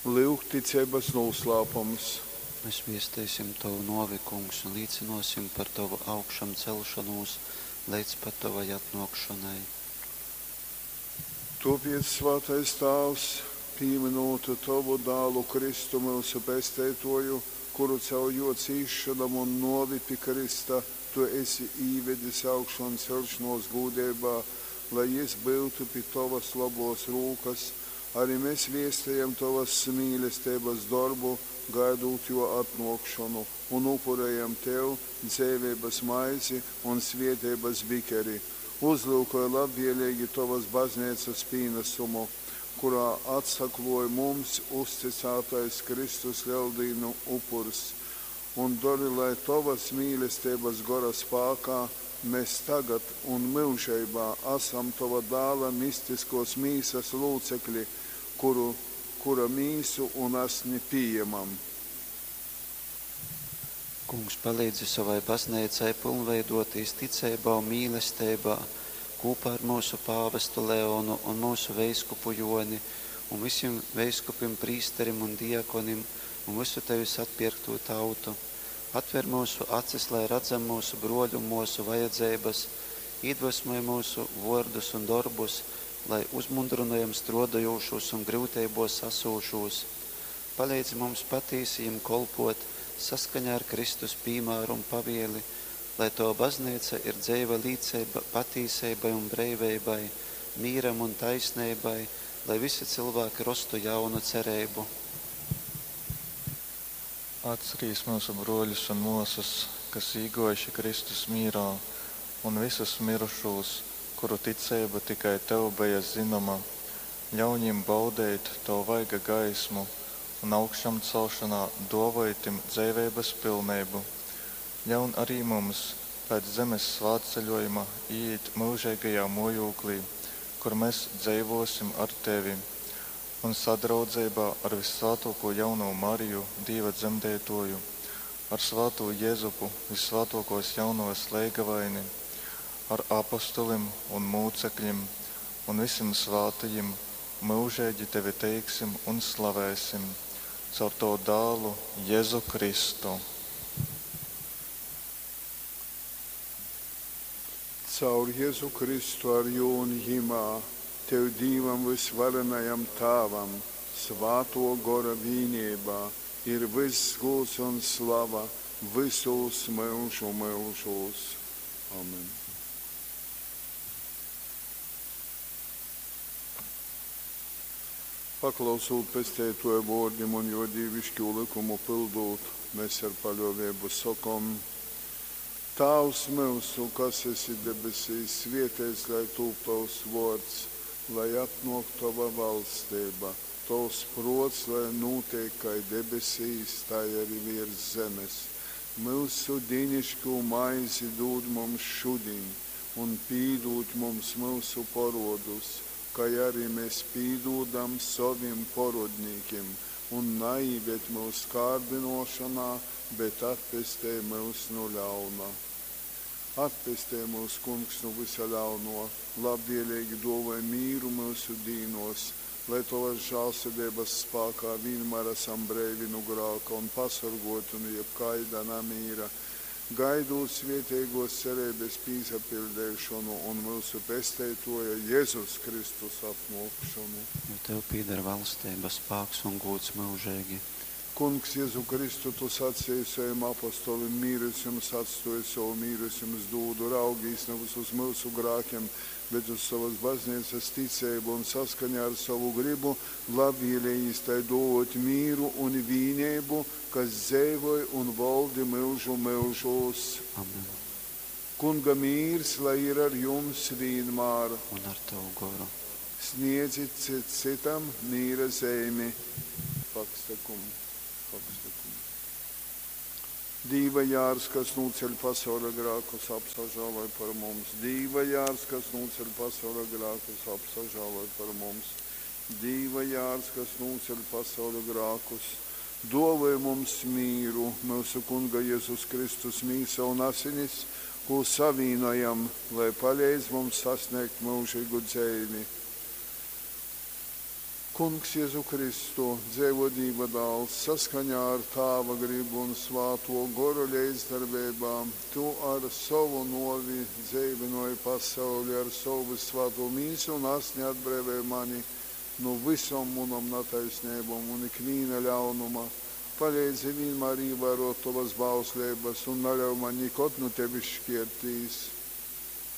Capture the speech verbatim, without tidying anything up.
Lyugticeibas nūslāpums. Mes viesteisim tovu nōvi, Kungs, un līcynōsim par tovu augšamceļšonūs leidz pat tovai atnōkšonai. Tōpēc, svātais Tāvs, pīmynūt tovu Dālu Kristu, myusu Pesteitōju, kuru caur jō cīsšonom un nōvi pi krysta tu esi īvedis augšanceļšonōs gūdeibā, lai jys byutu pi tovas lobōs rūkas, ari mes viestejam tovas mīlesteibas dorbu, gaidūt jō atnōkšonu, un upurejam tev dzeiveibas maizi un svēteibas bikeri. Uzlyukoj labvēleigi tovas bazneicas pīnasumu, kurā atsaklōj mums uztycātais Kristus Leldīnu upurs, un dori, lai tovas mīlesteibas Gora spākā mes tagad un myužeibā asam tova Dāla mistiskōs mīsas lūcekli, kuru, kura mīsu un asni pījemam. Kungs, palīdzi sovai bazneicai pylnveidōtīs ticeibā un mīlesteibā kūpā ar myusu pāvestu Leonu un myusu veiskupu Jōni un vysim veiskupim, prīsterim un diakonim un vysu tevis atpierktū tautu. Atver myusu acis, lai radzam myusu brōļu un mōsu vajadzeibas, īdvesmoj myusu vōrdus un dorbus, lai uzmundrynojam strōdojūšūs un gryuteibōs asūšūs. Paleidzi mums patīsi jim kolpōt, saskaņā ar Kristus pīmāru un pavieli, lai tova bazneica ir dzeiva līceiba patīseibai un breiveibai, mīram un taisneibai, lai visi cylvāki rostu jaunu cereibu. Atcerīs myusu brōļus un mōsas, kas īgōjuši Kristus mīrā, un vysus myrušūs, kuru ticeiba tikai tev beja zynoma. Ļauņ jim baudeit tova vaiga gaismu un augšamcelšonā dōvoj tim dzeiveibas pilneibu. Ļaun ari mums pēc zemes svātceļōjuma īīt myužeigajā mōjūklī, kur mes dzeivōsim ar tevi. Un sadraudzeibā ar vyssvātōkū jaunovu Mariju, Dīva dzemdeitōju, ar svātū Jezupu, vyssvātōkōs jaunovas leigavaini, ar apostolim un mūcekļim un vysim svātajim myužeigi tevi teiksim un slavēsim caur tovu Dālu Jezu Kristu. Caur Jezu Kristu ar jū un jymā, tev Dīvam vysvarenajam Tāvam, Svātō Gora vīneibā ir vyss gūds un slava vysūs myužu myužūs. Amen. Paklausūt Pesteitōja vōrdim un jō dīviškū lykumu pyldūt, mes ar paļōveibu sokom, Tāvs myusu, kas esi debesīs, svēteits lai tūp tovs vōrds, lai atnōk tova valsteiba. Tovs prōts lai nūteik kai debesīs, tai ari vērs zemes. Myusu diniškū maizi dūd mums šudiņ, un pīdūd mums myusu porōdus, kai ari mes pīdūdam sovim porōdnīkim. Un naīved myus kārdynōšonā, bet atpestej myus nu ļauna. Atpestej myus, Kungs, nu vysa ļaunō, labvēleigi dōvoj mīru myusu dīnōs, lai tovas žālsirdeibas spākā vīnmār asam breivi nu grāka un pasorgōti nu jebkaida namīra, gaidūt svēteigōs cereibas pīsapiļdeišonu un myusu Pesteitōja Jezus Kristus atnōkšonu. Jo tev pīdar valsteiba, spāks un gūds myužeigi. Kungs Jezu Kristu, tu saceji sovim apostolim, mīru es jums atstōju, sovu mīru es jums dūdu, raugīs navys uz myusu grākim, bet uz sovas bazneicas ticeibu un saskaņā ar sovu gribu labvēlējīs tai dōvōt mīru un vīneibu, kas dzeivoj un voldi myužu myužūs. Amen. Kunga mīrs, lai ir ar jums vīnmār. Un ar tavu goru. Sniedzit cits cytam mīra zeimi. Pakstakum, pakstakum. Dīva jārs, kas nūceļ pasauļa grākus, apsažāloj par mums. Dīva jārs, kas nūceļ pasauļa grākus, apsažāloj par mums. Dīva jārs, kas nūceļ pasauļa grākus, dōvoj mums mīru, myusu Kunga Jezus Kristus mīsa un asinis, kū savīnojam, lai paleidz mums sasniegt myužīgu dzeivi. Kungs Jezu Kristu, dzeivō Dīva Dāls, saskaņā ar Tāva grybu un Svātō Gora leidzdarbeibā Tu ar sovu nōvi dzeivynōji pasauli, ar sovu vyssvātū Mīsu un Asni atbreivoj mani nu vysom munom nataisneibom un ikvīna ļaunuma. Paleidzi vīnmār īvārōt Tovas bausleibas un naļauj maņ nikod nu Tevis škērtīs.